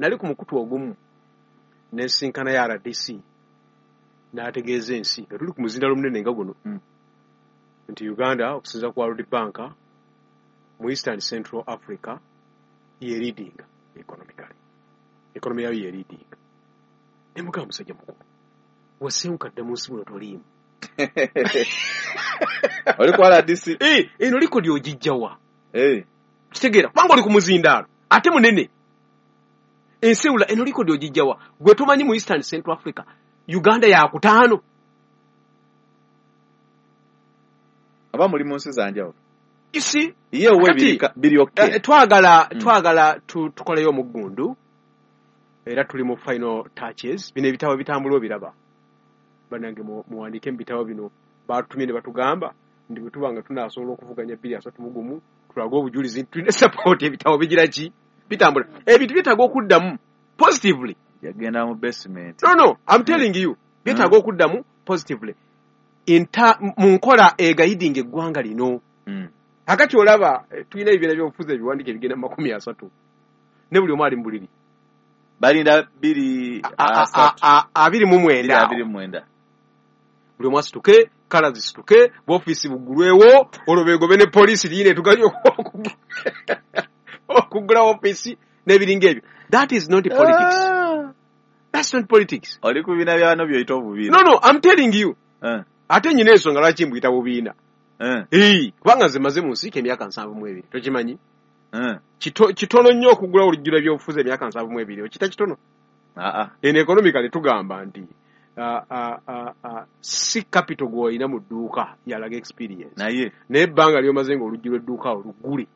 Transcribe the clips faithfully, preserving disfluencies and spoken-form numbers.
Nali ku mukutu ogumu nensinkana ya R D C n'ategeeza ensi nga tuli ku muzindalo munene nga guno mm. nti Uganda okusinza ku World Bank mu Eastern Central Africa ye leading economically, economy yayo ye leading. Ne mugamba musajja mukulu, wasenkadde mu nsi muno toliimu. Oli ku R D C? Eh, eno likodi ogijjawa? Eh. Kitegeera kubanga oli ku muzindaalo ate munene. Ensi ewula eno likodi ogijjawa? Gwe tomanyi mu Eastern Central Africa Uganda yakutaano. Aba muli mu nsi za njawulo. Isi ye we biri okay. Twagala mm. twagala tukoleyo omuggundu era tuli mu final touches. Bino ebitabo bitambula obiraba. Bannange muwandiike mu bitabo bino batutumye ne batugamba nti bwe tuba nga tunaasobola okuvuganya bbiri asatu mu gumu tulage obujulizi nti tulina support. Ebitabo bigira ki bitambula. Ebintu byetaaga okuddamu positively. Yagenda mu basement. No no, I'm telling you byetaaga mm. okuddamu positively inta mu nkola egayidinga eggwanga lino. Mm. Akati olaba tulina ebibiina by'obufuzi ebiwandiike ebigenda mu makumi asatu ne buli omu ali mu buliri. Balinda bbiri asatu abiri mu mwenda abiri mu mwenda. Buli omu asituke, kala zisituke, boofiisi buggulwewo, olwo beegobe ne poliisi liine etuganye okuggula ofiisi n'ebiringa ebyo. That is not politics. Ah. That's not politics. Oli ku bibiina byano by'oyita obubiina. No no, I'm telling you. Uh. Ate nnyina ensonga lwaki mbuyita bubiina. Uh. Eh, kubanga nze maze mu nsiike emyaka nsanvu mu ebiri, tokimanyi? Uh. Kito, kitono nnyo okugula olujjula ebyobufuzi emyaka nsanvu mu ebiri, okita kitono? Ah ah. Eno economically tugamba nti Uh, uh, uh, uh, si capital gw'olina mu dduuka yalaga experience. Naye naye ebbanga ly'omaze ng'oluggi lw'edduuka oluggule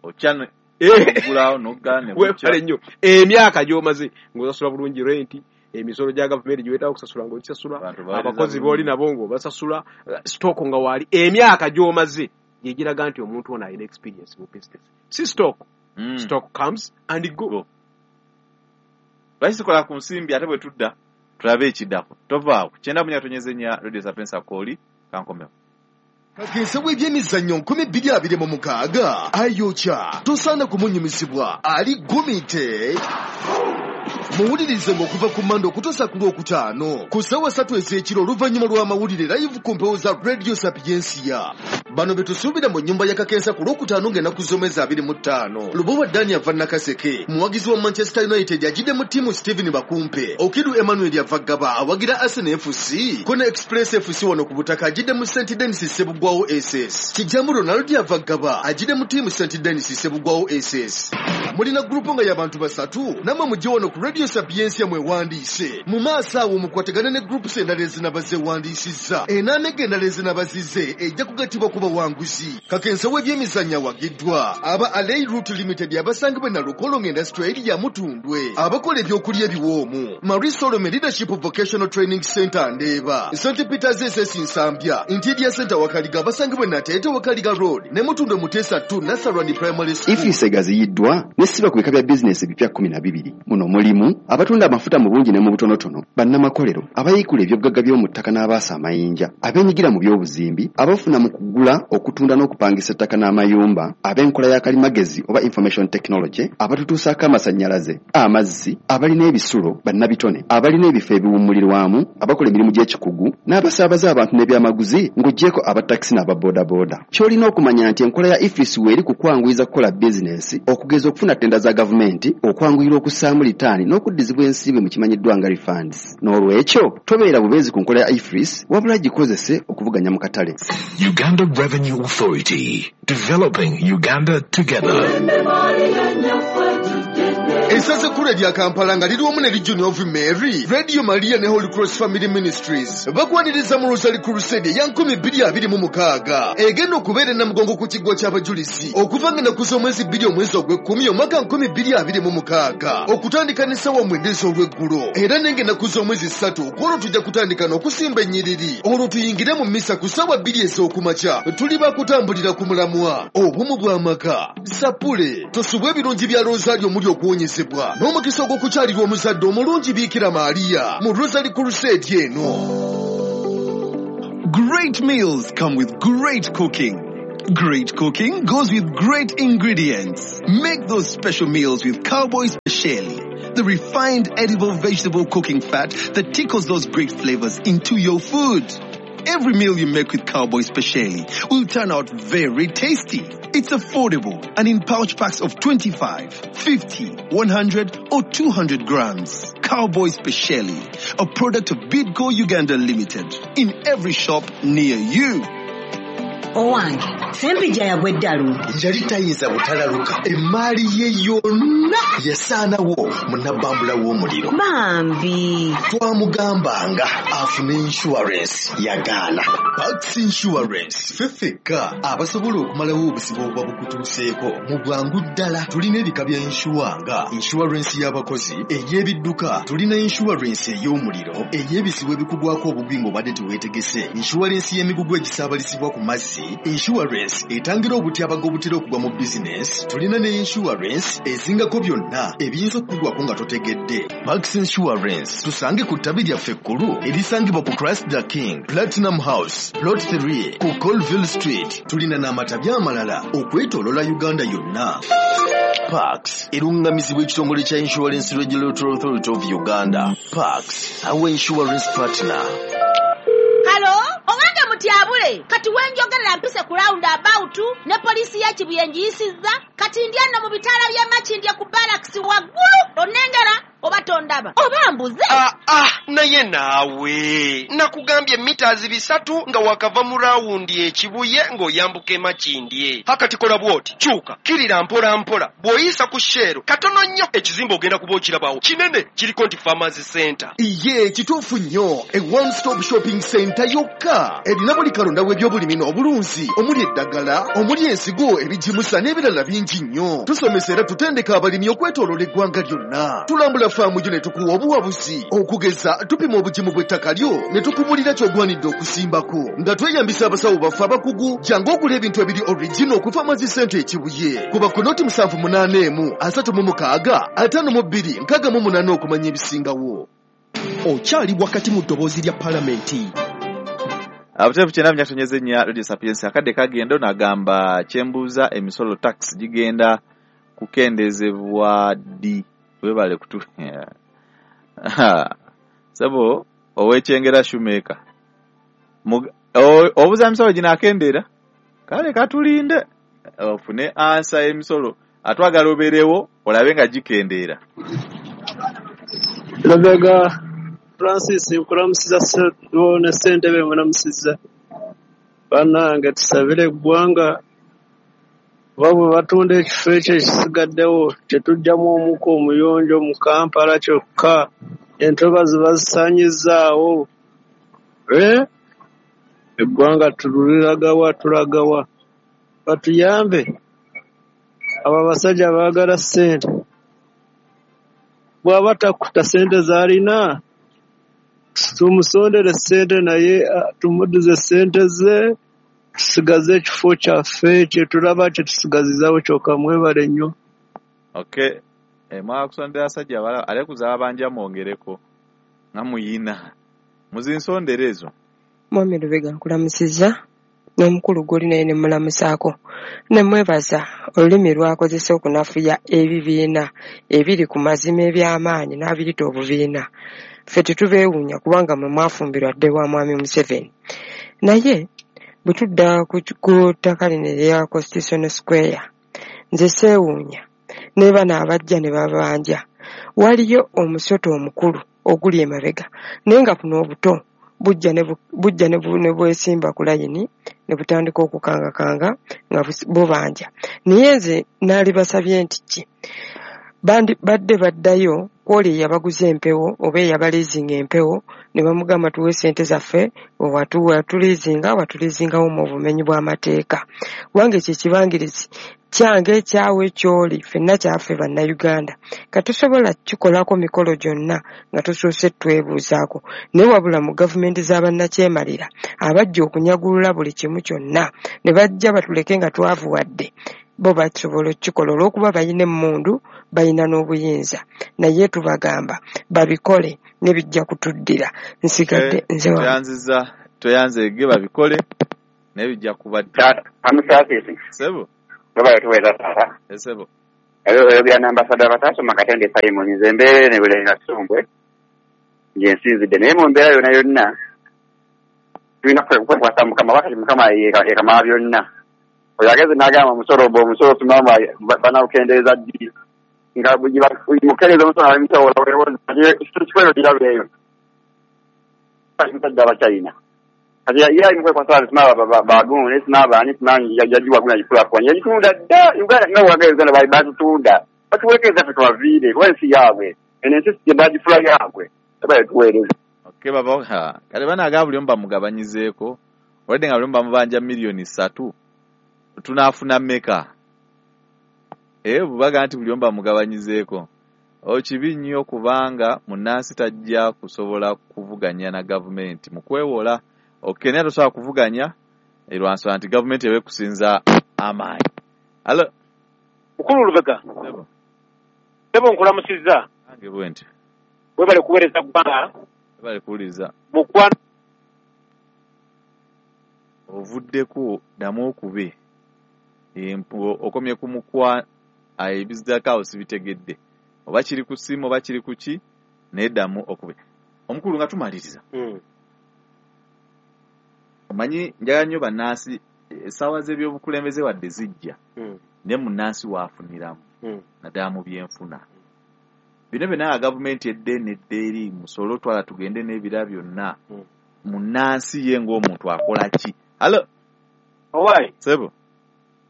okyano ogulawo n'oggala ne weebale nnyo. Emyaka gy'omaze ng'osasula bulungi renti, emisolo gya gavumenti gy'oyetaaga okusasula ng'ogisasula, abakozi b'oli nabo ng'obasasula, stock nga waali. Emyaka gy'omaze gye giraga nti omuntu ono alina experience mu business. Si stock. Mm. Stock comes and go. Lwaki sikola ku nsimbi ate bwe tudda tulabe ekiddako. Tovaawo. Kyenda munya tonyeze nnya Radio Sapientia Kooli kankomewo. Kakensa w'ebyemizannyo nkumi bbiri abiri mu mukaaga ayokya tosaana kumunyumizibwa ali gumite. Muwulirize ng'okuva ku Mande okutuusa ku Lwokutaano ku ssaawa ssatu ez'ekiro oluvannyuma lw'amawulire live ku mpewo za Radio Sapientia. Bano be tusuubira mu nnyumba ya Kakensa ku Lwokutaano ng'ennaku z'omwezi abiri mu ttaano. Lubowa Dani ava Nakaseke, muwagizi wa Manchester United ajjidde mu ttiimu Stephen Bakumpe. Okiru Emmanuel ava Ggaba awagira Arsenal F C. Kona Express F C wano ku butaka ajjidde mu Saint Denis Ssebugwawo S S. Kijjamu Ronald ava Ggaba ajjidde mu ttiimu Saint Denis Ssebugwawo S S. Mulina gurupu nga y'abantu basatu nammwe mujje wano ku Radio Sapientia mwewandiise. Mu maaso awo mukwatagane ne groups endala ezinaba zeewandiisizza. Enaamega endala ezinaba zizze ejja kugattibwa ku bawanguzi. Kakensa w'ebyemizannyo awagiddwa aba Alei Route Limited abasangibwa e Nalukolongo Industrial Area Mutundwe, abakola ebyokulya ebiwoomu, Marie Solome Leadership Vocational Training Center Ndeeba, Saint Peters S S Nsambya, Interior Center Wakaliga abasangibwa e Nateete Wakaliga Road ne Mutundwe Muteesa two Nasarani Primary School. Ifisa egaziyiddwa n'essibwa ku bika bya bizinesi ebipya kkumi na bibiri. Muno mulimu abatunda amafuta mu bungi ne mu butonotono, bannamakolero, abayiikula ebyobugagga by'omu ttaka n'abaasa amayinja, abeenyigira mu by'obuzimbi, abafuna mu kugula, okutunda n'okupangisa ettaka n'amayumba, ab'enkola ya kalimagezi oba information technology, abatutuusaako amasannyalaze, amazzi, abalina ebisulo, bannabitone, abalina ebifo ebiwummulirwamu, abakola emirimu gy'ekikugu, n'abasaabaza abantu n'ebyamaguzi ng'oggyeko abatakisi n'ababoodabooda. Ky'olina okumanya nti enkola ya IFRIS weeri ku kwanguyiza kukola bizinesi, okugeza okufuna tenda za gavumenti, okwanguyira okussaamu litaani n'okuddizibwa ensimbi mu kimanyiddwa nga refunds. N'olwekyo tobeera bubeezi ku nkola ya IFRIS, wabula gikozese okuvuganya mu katale. Uganda Revenue Authority, developing Uganda together. Essaza ekkulu erya Kampala nga liri wamu ne Legion of Mary, Radio Maria ne Holy Cross Family Ministries bakwaniriza mu Rosary Crusade eya nkumi bbiri abiri mu mukaaga egenda okubeera e Namugongo ku kiggwa ky'abajulizi okuva nga ennaku z'omwezi bbiri omwezi ogw'ekkumi omwaka nkumi bbiri abiri mu mukaaga okutandika n'essaawa mwenda ez'olweggulo era n'enga ennaku z'omwezi ssatu kwolwo tujja kutandika n'okusimba ennyiriri olwo tuyingire mu mmisa ku ssaawa bbiri ez'okumakya. Tuli bakutambulira ku mulamwa obumu bw'amaka. Sapule tosubwa ebirungi bya Rosario omuli okuwonyezebwa n'omukisa ogw'okukyalirwa omuzadde omulungi Biikira Maria mu Rosary Crusade eno. Great meals come with great cooking. Great cooking goes with great ingredients. Make those special meals with Cowboy Speciale, the refined edible vegetable cooking fat that tickles those great flavors into your food. Every meal you make with Cowboy Speciale will turn out very tasty. It's affordable and in pouch packs of twenty-five, fifty, one hundred or two hundred grams. Cowboy Speciale, a product of Bidco Uganda Limited, in every shop near you. Owange, Ssempijja yagwa eddalu. Yali tayinza butalaluka. Emmaali ye yonna yasaanawo mu nabbambula w'omuliro. Bambi. Twamugambanga afune insurance yagaana. Pax Insurance ffe ffekka abasobola okumalawo obuzibu obuba bukutuuseeko mu bwangu ddala. Tulina ebika bya insure nga insurance y'abakozi, ey'ebidduka, tulina insurance ey'omuliro, ey'ebizibu ebikugwako obubi ng'obadde teweetegese, insurance y'emigugu egisaabalizibwa ku mazzi, insurance etangira obutyabaga obutera okugwa mu bizinesi, tulina ne insurance ezingako byonna ebiyinza okukugwako nga totegedde. Pax Insurance tusange ku ttabi lyaffe ekkulu erisangibwa ku Christ the King Platinum House Plot three ku Colville Street. Tulina n'amatabi amalala okwetooloola Uganda yonna. Pax erungamizibwa ekitongole kya Insurance Regulatory Authority of Uganda. Pax, our insurance partner. Halo, owange mutyabule, kati wenjogerera mpise ku round about ne poliisi ya Kibuye ngiyisizza, kati ndya nno mu bitaala by'e Makindye ku barracks waggulu, onnengera oba tondaba oba mbuze. Ah, ah, naye naawe nakugambye mitazi bisatu nga wakava mu rawundi ekibuye ng'oyambuka e Makindye. Hakati kola bw'oti, kyuka kirira mpola mpola, bw'oyisa ku Shell katono nnyo ekizimbe ogenda kuba okirabawo kinene kiriko nti Farmers Center. Iye kituufu nnyo, a one stop shopping center yokka erina buli kalonda w'ebyobulimi n'obulunzi, omuli eddagala, omuli ensigo, ebigimusa n'ebirala bingi nnyo. Tusomesa era tutendeka abalimi okwetooloola eggwanga lyonna. Tulambula faamu gyo ne tukuwa obuwabuzi, okugeza tupima obugimu bw'ettaka lyo ne tukubulira ky'ogwanidde okusimbako nga tweyambisa abasawo baffe abakugu. Jangu ogula ebintu ebiri original ku Farmers Center e Kibuye. Kuba ku noti musanvu munaana emu asatu mu mukaaga ataano mu bbiri nkaaga mu munaana okumanya ebisingawo. Okyali wakati mu ddoboozi lya Palamenti. Abuteefu kyenda munyatonyeze nnya Radio Sapientia. Akadde kagenda onagamba kyembuuza emisolo tax gigenda kukendezebwa ddi? Webale kutu sabo owekyengera shumeka obuza emisolo ginakendeera, kale katulinde ofune ansa emisolo atwagala obeerewo olabe nga gikendeera. Lubega Francis nkulamusiza ne ssentebe mulamusiza. Bannange tusabire eggwanga oba bwe batunda ekifo ekyo ekisigaddewo tetujjamu omukka omuyonjo mu Kampala kyokka, entobazi bazisaanyizzaawo. Eh? Eggwanga tuliragawa tulagawa, batuyambe abo abasajja baagala ssente. Bw'aba takuta ssente z'alina tumusondere ssente naye tumuddize ssente ze, tusigaze ekifo kyaffe kye tulaba kye tusigazizaawo kyokka. Mwebale nnyo. Okay, e, mwakusondera abasajja abalala ate kuzaaba banja mwongereko nga muyina muzinsondere ezo. Mwami Lubega nkulamusizza n'omukulu gw'oli naye ne mulamusaako ne mwebaza olulimi lw'akozesa okunafuya ebibiina ebiri ku mazima eby'amaanyi n'abiyita obubiina. Ffe tetubeewuunya kubanga mwe mwafumbirwa dde wa Mwami Museveni. Naye bwe tudda ku ttaka lino erya Constitutional Square, nze seewuunya ne bano abajja ne babanja. Waliyo omusota omukulu oguli emabega naye nga buno obuto bujja ne bujja ne bwesimba ku layini ne butandika okukangakanga nga bubanja. Naye nze naalibasabye nti ki bandi badde baddayo kwoli eyabaguza empewo oba eyabaliizinga empewo ne bamugamba tuwe ssente zaffe watuliizinga watuliizingawo mu bumenyi bw'amateeka. Kubanga ekyo ekibangirizi kyange kyawe ky'oli ffenna kyaffe Bannayuganda. Katusobola kikolako mikolo gyonna nga tusoose twebuuzaako. Naye wabula mu gavumenti z'abannakyemalira abajja okunyagulula buli kimu kyonna ne bajja batuleke nga twavuwadde, bo basobola okukikola olw'okuba balina emmundu, balina n'obuyinza. Naye tubagamba babikole ne bijja kutuddira. Nsigadde nze wa tweyanziza tweyanzeege babikole Naye bijja kuba Taata, amusaasisi. Sebo. Baba tuweza taata. Sebo. Ebyo bya ambassador Batasoma Katende Simon nze mbeere ne Bulenga Ssumbwe. Nje nsinzidde naye mu mbeera yonna yonna tulina kwekwasa Mukama wakati Mukama yekamala byonna. Oyo ageze n'agamba omusolo ogwo omusolo tumamba banawukendeeza ddi nga mukereeza omusolo ab'emisolo kikwero kirabo eyo musajja Abachina. Kati ye ali mukwekwasa simaba bagundi simaba ani simanyi yagiwa guna gikulaakulanya yagitunda dda Uganda nga bw'agamba Uganda bali batutunda batuwerekeza ffe tubaviire kuba ensi yaabwe eno ensi gye bagifula yaabwe tebale tuweereza. Okay, baba ha kale banaaga buli omu bamugabanyizeeko olwedde nga buli omu bamubanja miliyoni ssatu tunaafuna mmeka? Eh, bubaga nti buli omu bamugabanyizeeko okibi nnyo kubanga munnansi tajja kusobola kuvuganya na gavumenti mu kwewola. Okay, naye tosobola kuvuganya lwa nsonga nti gavumenti eba ekusinza amaanyi. Alo Mukulu Lubega. Sebo nkulamusizza. Nange bwe nti. Webale kuweereza ggwanga. Webale kuwuliriza. Mukwano ovuddeko ddamu okube okomye ku mukwa ebiziddako awo sibitegedde oba kiri ku ssimu oba kiri ku ki naye ddamu okube. Omukulu nga tumaliriza. Omanyi njagala nnyo bannansi essaawa z'ebyobukulembeze wadde zijja naye munnansi waafuniramu naddala mu byenfuna. Bino byonna nga gavumenti edde nedda eri musolo twala tugende n'ebira byonna munnansi ye ng'omuntu akola ki? Alo Owai. Sebo.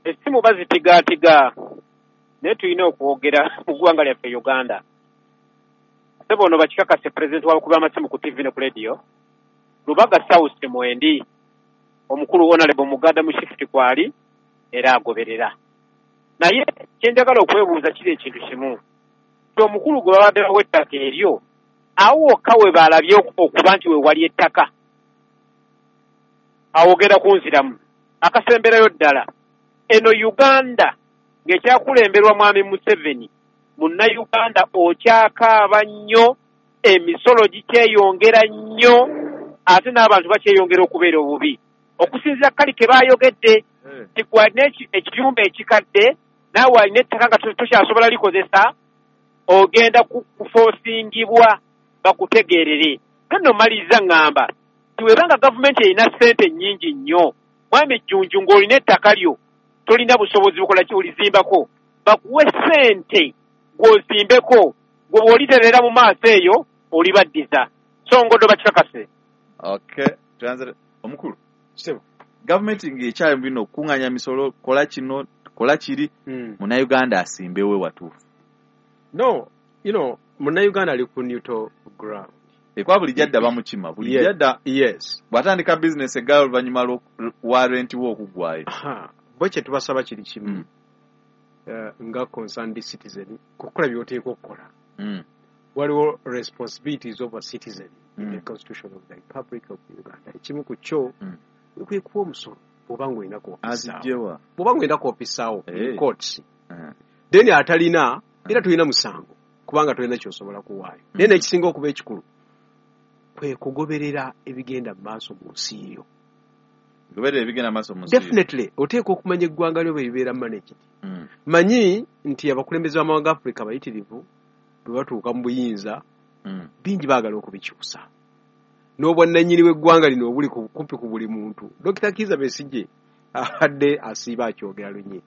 Essimu bazitigaatiga naye tulina okwogera mu ggwanga lyaffe Uganda. Sebo ono bakikakase pulezidenti w'abakubi b'amasimu ku T V ne ku radio Lubaga South mwendi omukulu Honorable Muganda mu shift kwali era agoberera. Naye kye njagala okwebuuza kiri ekintu kimu nti omukulu gwe babadde bawa ettaka eryo awo wokka we baalabye okuba nti we wali ettaka awogera kunziramu akasemberayo ddala. Eno Uganda ng'ekyakulemberwa Mwami Museveni munnayuganda okyakaaba nnyo, emisolo gikyeyongera nnyo ate n'abantu bakyeyongera okubeera obubi. Okusinziira kali ke baayogedde nti gwe alina ekiyumba ekikadde naawe alina ettaka nga tokyasobola likozesa ogenda kufoosingibwa bakutegeerere. Nno maliriza ŋŋamba nti bw'ebanga gavumenti erina ssente nnyingi nnyo, Mwami Jjunju ng'olina ettaka lyo tolina busobozi bukola ki olizimbako, bakuwe ssente gw'ozimbeko gwe bw'oliterera mu maaso eyo olibaddiza. So ngodo bakikakase. Okay, translate omukulu. Sebo. Gavumenti ng'ekyali mu bino okuŋŋaanya misolo kola kino kola kiri mm. Munnayuganda asimbewe watuufu. No, you know, munnayuganda ali ku neutral ground. Ekwa bulijjo adda bamukima bulijjo adda. Yes. Bw'atandika bizinesi eggala oluvannyuma lwa renti we okuggwayo. Bo kye tubasaba kiri kimu mm. uh, nga concerned citizen kukola by'oteekwa okukola. Mm. Waliwo responsibilities of a citizen mm. in the constitution of the Republic of Uganda. Ekimu ku kyo mm. okwe kuwa omusolo bw'oba ng'olina kuopisaawo. Azigyewa. Bw'oba ng'olina kuopisaawo hey. in courts. Uh. Then atalina era tolina musango kubanga tolina ky'osobola kuwaayo. Mm. Naye n'ekisinga okuba ekikulu kwe kugoberera ebigenda mu maaso mu nsi yo. Goberera ebigenda mu maaso mu nsi yo. Definitely oteekwa okumanya eggwanga lyo bwe libeera managed. Mm. Manyi nti abakulembeze b'amawanga Afrika bayitirivu bwe batuuka mu buyinza mm. bingi baagala okubikyusa. N'obwannannyini bw'eggwanga lino obuli kumpi ku buli muntu. Dokita Kizza Besigye abadde asiiba akyogera lunye.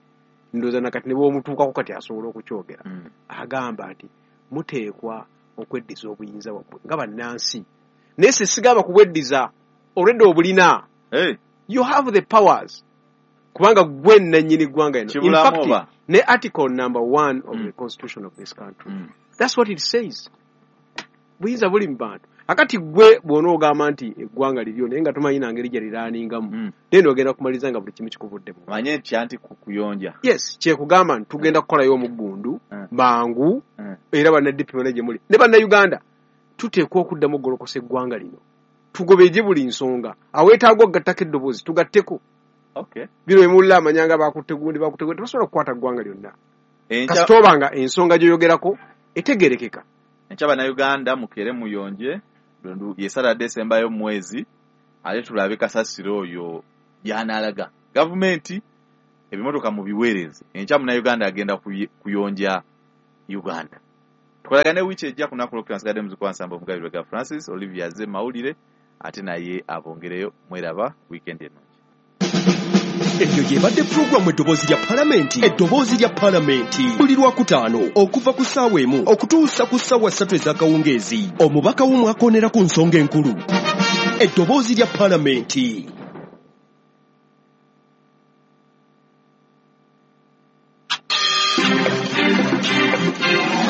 Ndowooza nakati ne bw'omutuukako kati asobola okukyogera. Mm. Agamba nti muteekwa okweddiza obuyinza bwammwe nga bannansi. Naye si sigamba kubweddiza olwedde obulina. Hey. You have the powers. Kubanga gwe nnannyini ggwanga lino. In fact, ne article number one of mm. the constitution of this country. Mm. That's what it says. Buyinza buli mu bantu. Akati gwe bw'onoogamba nti eggwanga liryo naye nga tomanyi na ngeri gye liraaningamu mm. then ogenda kumaliriza nga buli kimu kikuvuddemu. Manye nti anti kukuyonja. Yes, kyekugamba nti tugenda kukolayo omuggundu mm. mangu mm. era banna D P bonna gye muli ne bannayuganda tuteekwa okuddamu okugolokosa eggwanga lino. Tugobeje buli nsonga. Aweetaaga okugattako eddoboozi tugatteko. Okay. Bino emulla amanyanga bakutte gundi bakutte gundi tebasobola kukwata ggwanga lyonna. Enkya Kasita oba nga ensonga gy'oyogerako etegeerekeka. Enkya bannayuganda mukere muyonje ye Saturday esembayo mu mwezi ate tulabe kasasiro oyo Gy'anaalaga gavumenti ebimotoka mubiweereze. Enkya Munnayuganda agenda kuyonja Uganda. Tukolagane wiiki ejja ku lunaku lwokutaano. Nsigadde muzzukulu wa Nsamba Omugabirwe ga Francis Olivia azze mawulire ate naye abongereyo. Mweraba weekend ennungi. Eyo y'ebadde pulogulaamu Eddoboozi lya Palamenti. Eddoboozi lya Palamenti buli Lwakutaano okuva ku ssaawa emu okutuusa ku ssaawa ssatu ez'akawungeezi. Omubaka w'omwakoonera ku nsonga enkulu. Eddoboozi lya Palamenti.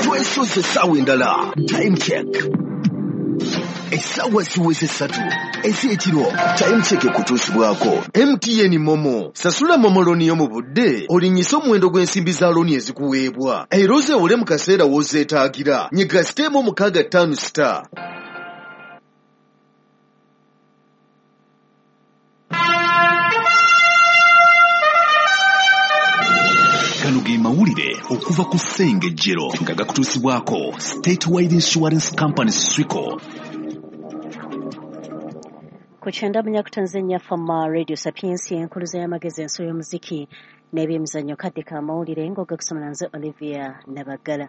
Twesoze essaawa endala. Time check. Essaawa ziweze ssatu ez'ekiro. Time check ekutuusibwako M T N Momo. Sasula Momo looni yo mu budde olinnyise omuwendo gw'ensimbi za looni ezikuweebwa era ozeewole mu kaseera w'ozeetaagira. Nyiga siteemu omukaaga ttaano star. Gano ge mawulire okuva ku Ssengejjero nga gakutuusibwako Statewide Insurance Company Swico. Ku kyenda munyakutanze nnyaffe Radio Sapiensia enkuluza y'amagezi enso y'omuziki n'ebyemizannyo kadde ka mawulire ng'ogakusomera nze Olivia Nabaggala.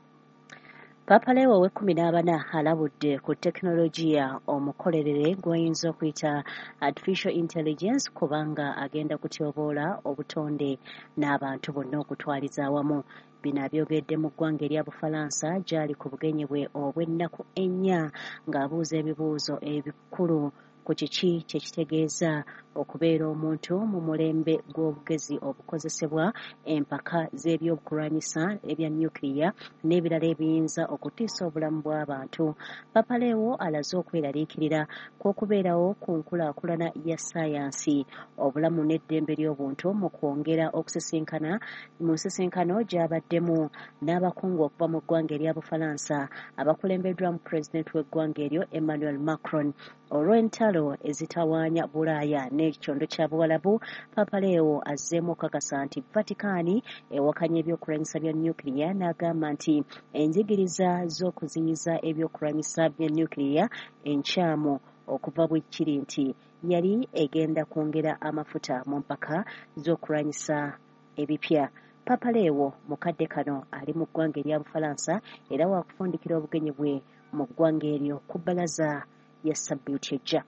Papa Leo ow'ekkumi n'abana alabudde ku tekinologiya omukolerere gw'oyinza okuyita artificial intelligence kubanga agenda kutyoboola obutonde n'abantu bonna okutwaliza awamu. Bino abyogedde mu ggwanga erya Bufalansa gy'ali ku bugenyi bwe obw'ennaku ennya ng'abuuza ebibuuzo ebikulu ku kiki kye kitegeeza okubeera omuntu mu mulembe gw'obugezi obukozesebwa, empaka z'ebyokulwanyisa ebya nuclear n'ebirala ebiyinza okutiisa obulamu bw'abantu. Papa Leo alaze okweraliikirira kw'okubeerawo ku nkulaakulana ya ssaayansi, obulamu n'eddembe ly'obuntu mu kwongera okusisinkana mu nsisinkano gy'abaddemu n'abakungu okuva mu ggwanga erya Bufalansa abakulembeddwamu pulezidenti w'eggwanga eryo Emmanuel Macron. Olw'entalo ezitawaanya Bulaaya n'ekyondo kya Buwalabu, Papa Leo azzeemu okukakasa nti Vatican ewakanya ebyokulwanyisa bya nuclear n'agamba nti enjigiriza z'okuziyiza ebyokulwanyisa bya nuclear enkyamu okuva bwe kiri nti yali egenda kwongera amafuta mu mpaka z'okulwanyisa ebipya. Papa Leo mu kadde kano ali mu ggwanga erya Bufalansa era waakufundikira obugenyi bwe mu ggwanga eryo ku bbalaza ya ssabbiiti ejja.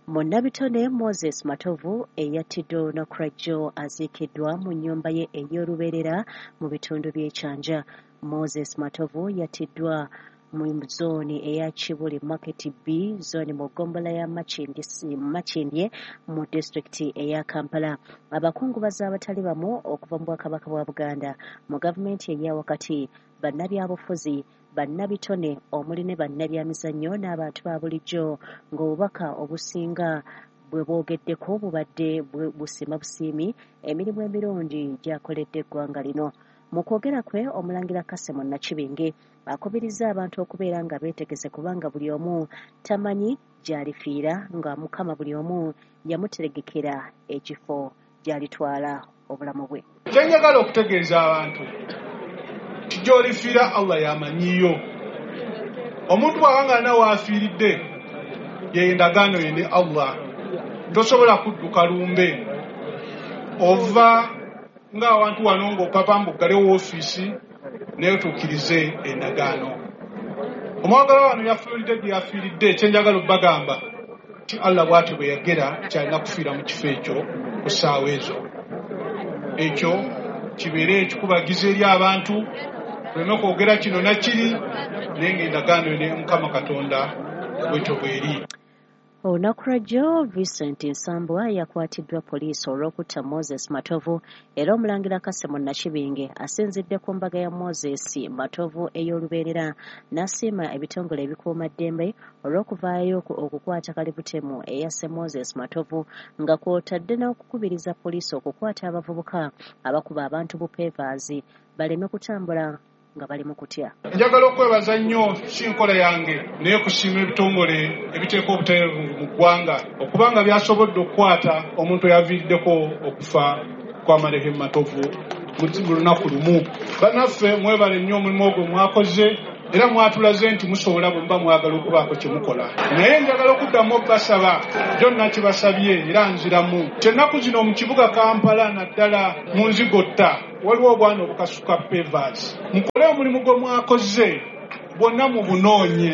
Munnabitone Moses Matovu eyattiddwa olunaku lwa jjo aziikiddwa mu nnyumba ye ey'olubeerera mu bitundu by'e Kyanja. Moses Matovu yattiddwa mu zooni eya Kibuli Market B zooni mu ggombolola ya Makindye mu disitulikiti eya Kampala. Abakungubazi abatali bamu okuva mu Bwakabaka bwa Buganda, mu gavumenti eya wakati, bannabyabufuzi, bannabitone omuli ne bannabyamizannyo n'abantu ba bulijjo ng'obubaka obusinga bwe boogeddeko bubadde busiima busiimi emirimu emirungi gy'akoledde eggwanga lino. Mu kwogera kwe, Omulangira Kassim Nakibinge akubiriza abantu okubeera nga beetegese kubanga buli omu tamanyi gy'alifiira nga Mukama buli omu yamuteregekera ekifo gy'alitwala obulamu bwe. Kye njagala okutegeeza abantu nti gy'olifiira Allah y'amanyiyo. Omuntu bw'aba nga alina w'afiiridde ye endagaano ye ne Allah. Tosobola kudduka lumbe ova ng'awantu wano ng'opapa mbuggale woofiisi naye otuukirize endagaano. Omwagalwa wano yafiiridde gye yafiiridde. Kye njagala obbagamba nti Allah bw'atyo bwe yagera kyalina kufiira mu kifo ekyo ku ssaawa ezo. Ekyo kibeere ekikubagiza eri abantu tuleme kwogera kino na kiri naye ng'endagaano ne Mukama Katonda bwetyo bw'eri. Olunaku lwa jjo Vincent Nsambwa yakwatiddwa poliisi olw'okutta Moses Matovu era Omulangira Kassim Nakibinge asinzidde ku mbaga ya Moses Matovu ey'olubeerera n'asiima ebitongole ebikuumaddembe olw'okuvaayo okukwata kalibutemu eyasse Moses Matovu nga kw'otadde n'okukubiriza poliisi okukwata abavubuka abakuba abantu bupeevaazi baleme kutambula nga bali mu kutya. Njagala okwebaza nnyo si nkola yange naye kusiima ebitongole ebiteeka obutereevu mu ggwanga okubanga byasobodde okukwata omuntu eyaviiriddeko okufa kwa Marehemu Matovu mu lunaku lumu. Bannaffe mwebale nnyo omulimu ogwo mwakoze. Era mwatulaze nti musobola bwe muba mwagala okubaako kye mukola. Naye njagala okuddamu okubasaba, byonna kibasabye era nziramu. Ennaku zino mu kibuga Kampala naddala mu nzigotta waliwo obwana obukasuka pavers. Mukole omulimu gwe mwakoze bwonna mubunoonye.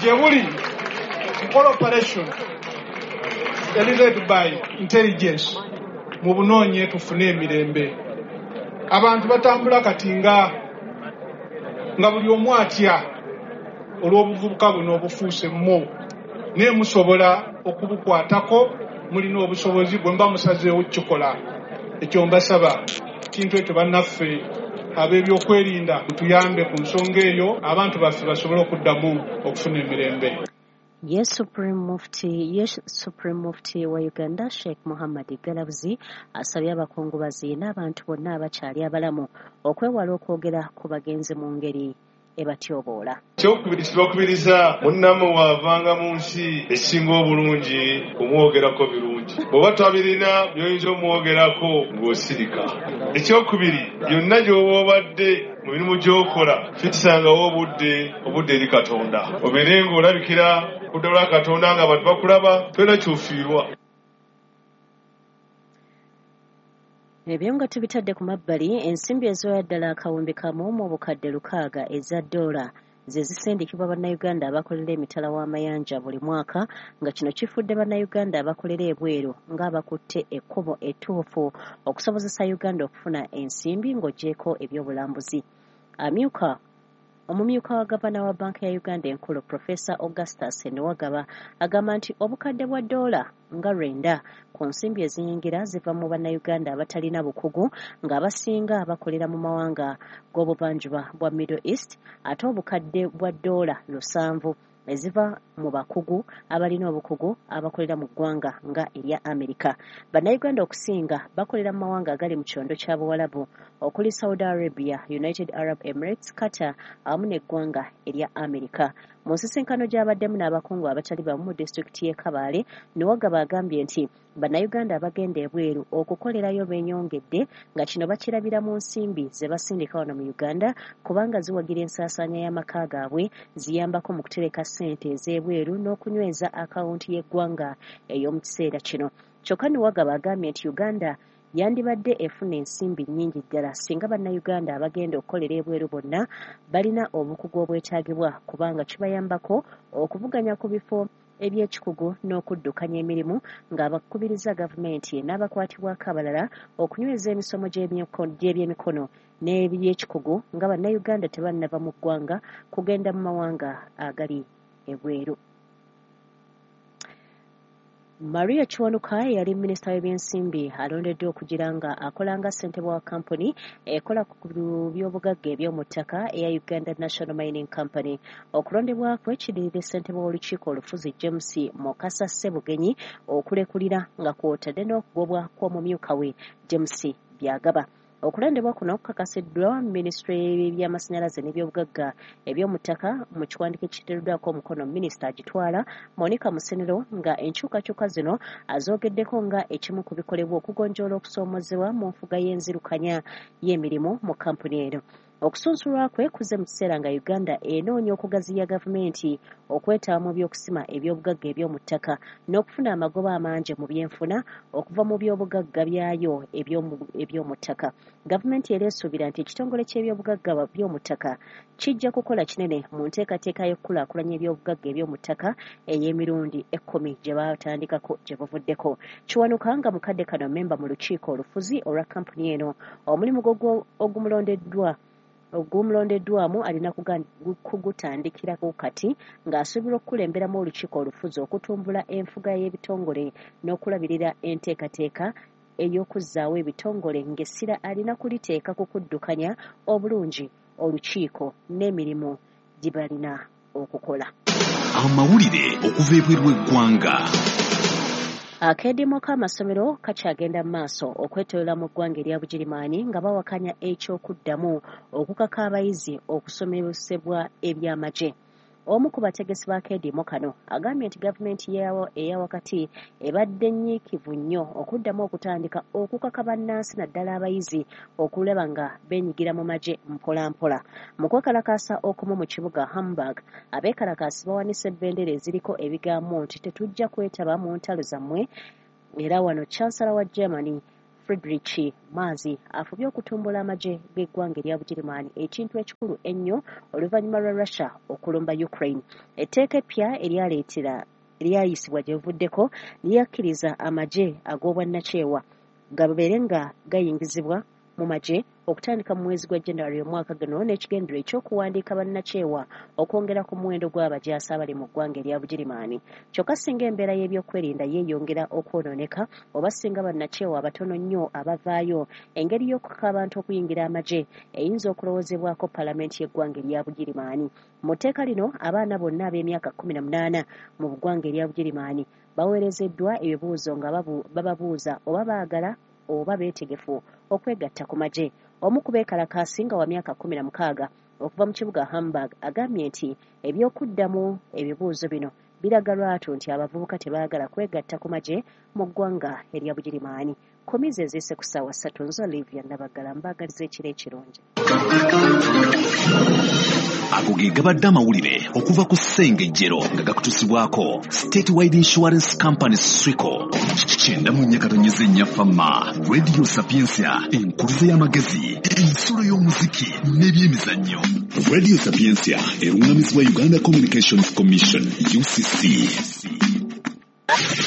Gye buli mukole operation led by intelligence, mubunoonye tufune emirembe. Abantu batambula kati nga nga buli omu atya olw'obuvubuka buno obufuuse mmo, naye musobola okubukwatako, mulina obusobozi bwe muba musazeewo kukikola. Ekyo mbasaba kintu ekyo bannaffe ab'ebyokwerinda mutuyambe ku nsonga eyo, abantu baffe basobole okuddamu okufuna emirembe. Ye Supreme Mufti, ye Supreme Mufti wa Uganda Sheikh Muhammad Galabuzi asabye abakungubazi n'abantu bonna abakyali abalamu okwewala okwogera ku bagenzi mu ngeri ebatyoboola. Ekyokubiri kibakubiriza munnammwe bw'avanga mu nsi ekisinga obulungi kumwogerako birungi. Bw'oba tabirina by'oyinza omwogerako ng'osirika. Ekyokubiri byonna gy'oba obadde mu mirimu gy'okola fitisangawo obudde obudde eri Katonda. Obeere ng'olabikira ku dda lwa Katonda ng'abantu bakulaba tolina ky'ofiirwa. Ebyo nga tubitadde ku mabbali, ensimbi eziwera ddala akawumbi kamu mu bukadde lukaaga eza ddoola ze zisindikibwa bannayuganda abakolera emitala w'amayanja buli mwaka, nga kino kifudde bannayuganda abakolera ebweru ng'abakutte ekkubo ettuufu okusobozesa Uganda okufuna ensimbi ng'oggyeeko ebyobulambuzi. Amyuka omumyuka wa gavana wa banka ya Uganda enkulu Professor Augustus Nuwagaba agamba nti obukadde bwa ddoola nga lwenda ku nsimbi eziyingira ziva mu bannayuganda abatalina bukugu ng'abasinga bakolera mu mawanga g'obuvanjuba bwa Middle East, ate obukadde bwa ddoola lusanvu eziva mu bakugu abalina obukugu abakolera mu ggwanga nga erya Amerika. Bannayuganda okusinga bakolera mu mawanga agali mu kyondo kya Buwalabu okuli Saudi Arabia, United Arab Emirates, Qatar awamu n'eggwanga erya Amerika. Mu nsisinkano gy'abaddemu n'abakungu abatali bamu mu disitulikiti y'e Kabale, Nuwagaba agambye nti bannayuganda abagenda ebweru okukolerayo beenyongedde nga kino bakirabira mu nsimbi ze basindika wano mu Uganda kubanga ziwagira ensaasaanya y'amaka gaabwe, ziyambako mu kutereka ssente ez'ebweru n'okunyweza akawunti y'eggwanga ey'omu kiseera kino. Kyokka Nuwagaba agambye nti Uganda yandibadde efuna ensimbi nnyingi ddala singa bannayuganda abagenda okukolera ebweru bonna balina obukugu obwetaagibwa kubanga kibayambako okuvuganya ku bifo eby'ekikugu n'okuddukanya emirimu, ng'abakubiriza gavumenti n'abakwatibwako abalala okunyweza emisomo gy'ebyemikono n'ebyekikugu nga bannayuganda tebannava mu ggwanga kugenda mu mawanga agali ebweru. Maria Kiwanuka yali minisita w'ebyensimbi alondeddwa okugira nga akola nga ssentebe wa kampuni ekola ku by'obugagga eby'omu ttaka eya Uganda National Mining Company. Okulondebwa kwe kidiridde ssentebe w'olukiiko olufuzi James Mukasa Ssebugenyi okulekulira nga kw'otadde n'okugobwa kw'omumyuka we James Byagaba. Okulondebwa kuno kukakasiddwa minisitule y'ebyamasannyalaze n'ebyobugagga eby'omu ttaka mu kiwandiiko ekiteereddwako omukono minisita agitwala Monica Musenero, nga enkyukakyuka zino azoogeddeko nga ekimu ku bikolebwa okugonjoola okusoomoozebwa mu nfuga y'enzirukanya y'emirimu mu kampuni eno. Okusunsulwa kwe kuzze mu kiseera nga Uganda enoonya okugaziya gavumenti okwetaba mu by'okusima ebyobugagga eby'omu ttaka n'okufuna amagoba amangi mu byenfuna okuva mu byobugagga byayo eby'omu ttaka. Gavumenti era esuubira nti ekitongole ky'ebyobugagga by'omu ttaka kijja kukola kinene mu nteekateeka y'okukulaakulanya ebyobugagga eby'omu ttaka ey'emirundi ekkumi gye baatandikako gye buvuddeko. Kiwanuka nga mukadde kano mmemba mu lukiiko olufuzi olwa kampuni eno, omulimu ogumulondeddwa ogumulondeddwamu alina kugutandikirako kati ng'asuubirwa okukulemberamu olukiiko olufuzi okutumbula enfuga y'ebitongole n'okulabirira enteekateeka ey'okuzzaawo ebitongole, ng'essira alina kuliteeka ku kuddukanya obulungi olukiiko n'emirimu gye balina okukola. Amawulire okuva ebweru w'eggwanga. Akeediimo k'amasomero kakyagenda mu maaso okwetooloola mu ggwanga erya Bugirimaani nga bawakanya eky'okuddamu okukaka abayizi okusomesebwa ebyamagye. Omu ku bategesi ba keediimo kano agambye nti gavumenti eya wakati ebadde nnyiikivu nnyo okuddamu okutandika okukaka bannansi naddala abayizi okulaba nga beenyigira mu magye mpolampola. Mu kwekalakaasa okumu mu kibuga Hamburg, abeekalakaasi bawanise bendera eziriko ebigambo nti tetujja kwetaba mu ntalo zammwe. Era wano Chancellor wa Germany Friedrich Merz afubye okutumbula amagye g'eggwanga erya Bugirimaani, ekintu ekikulu ennyo oluvannyuma lwa Russia okulumba Ukraine. Etteeka eppya eryaleetera eryayisibwa gye buvuddeko lyakkiriza amagye ag'obwannakyewa gabeere nga gayingizibwa mu magye okutandika mu mwezi gwa January omwaka guno n'ekigendererwa eky'okuwandiika bannakyewa okwongera ku muwendo gw'abajaasi abali mu ggwanga erya Bugirimaani. Kyokka singa embeera y'ebyokwerinda yeeyongera okwonooneka oba singa bannakyewa abatono nnyo abavaayo, engeri y'okukaka abantu okuyingira amagye eyinza okulowoozebwako palamenti y'eggwanga erya Bugirimaani. Mu tteeka lino abaana bonna ab'emyaka kkumi na munaana mu ggwanga erya Bugirimaani baweerezeddwa ebibuuzo nga bababuuza oba baagala oba beetegefu okwegatta ku magye. Omu ku beekalakaasi nga wa myaka kkumi na mukaaga okuva mu kibuga Hamburg agambye nti ebyokuddamu ebibuuzo bino biraga lwatu nti abavubuka tebaagala kwegatta ku magye mu ggwanga erya Bugirimaani. Komizi eziise ku ssaawa ssatu nzo Olivia Nabaggala mbaagaliza ekiro ekirungi. Ago ge gabadde amawulire okuva ku Ssengejjero nga gakutuusibwako Statewide Insurance Company Swico. Kyenda mu nnya katonyeze nnya Fama, Radio Sapientia, enkuluze y'amagezi, ensolo y'omuziki n'ebyemizannyo. Radio Sapientia erungamizibwa Uganda Communications Commission U C C.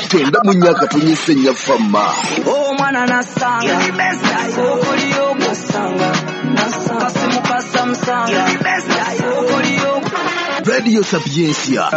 Kyenda mu nnya katonyeze nnya Fama. Omwana nasanga Radio Sapientia.